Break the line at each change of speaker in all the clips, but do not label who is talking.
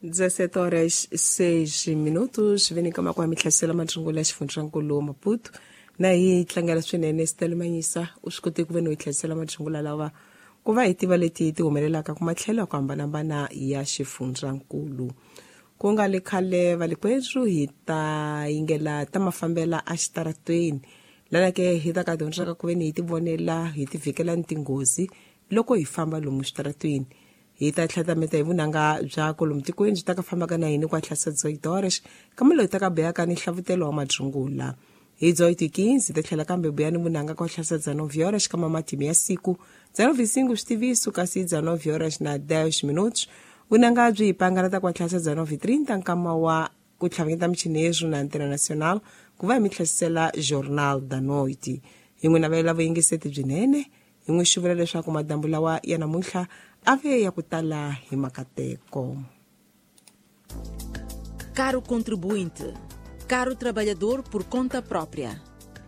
17:06 veni kama kwa mihlasela madrungula ya xifundzankulu Maputo na hi tlangela swinene Stella Manyisa u swi kote ku ve no hi tlherisela madrungula lawa ku va hi tiva leti ti humelelaka ku matlhelo ya ku hambanahambana ya xifundzankulu. Ku nga le khale valikwerhu hi ta yingela ta mafambela exitarateni lana ke hi ta ka dyondzaka ku ve ni hi ti vonela hi ti vhikela ni tinghozi loko hi famba lomu xitaratweni. Hi ta tlhatameta hi vunanga bya kolomu tikweni byi ta ka fambaka na hini kwa tlhasa 18h kambe loyi ta ka beyaka ni hlavutelo wa madrungula. Hi 18:15 hi ta tlhela kambe buya ni vunanga kwa tlhasa 19h kama matimu ya siku 19:05 switiviso kasi 19h10 vunanga byi hi pangalata kwa tlhasa 19:30 nkama wa ku tlhavanyeta michinezu na Antena Nacional ku va hi mi tlhasisela Jornal da Noite. Hi n'wi navela vuyingiseti byinene, hi n'wi xuvula leswaku madambu lawa ya namuntlha a ve ya ku tala hi makateko.
Caro contribuinte, caro trabalhador por conta própria,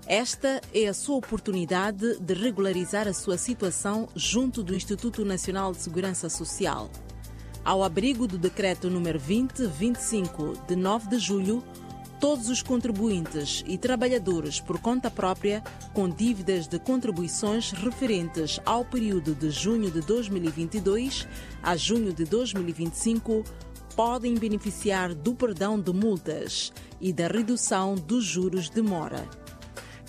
esta é a sua oportunidade de regularizar a sua situação junto do Instituto Nacional de Segurança Social. Ao abrigo do Decreto número 2025, de 9 de julho, todos os contribuintes e trabalhadores por conta própria com dívidas de contribuições referentes ao período de junho de 2022 a junho de 2025 podem beneficiar do perdão de multas e da redução dos juros de mora.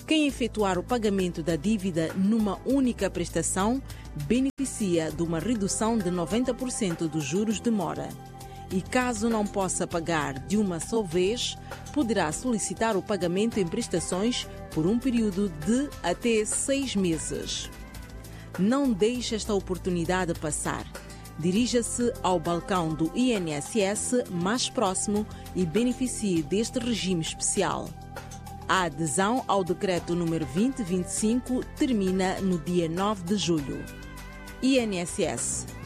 Quem efetuar o pagamento da dívida numa única prestação beneficia de uma redução de 90% dos juros de mora. E caso não possa pagar de uma só vez, poderá solicitar o pagamento em prestações por um período de até 6 meses. Não deixe esta oportunidade passar. Dirija-se ao balcão do INSS mais próximo e beneficie deste regime especial. A adesão ao decreto número 2025 termina no dia 9 de julho. INSS.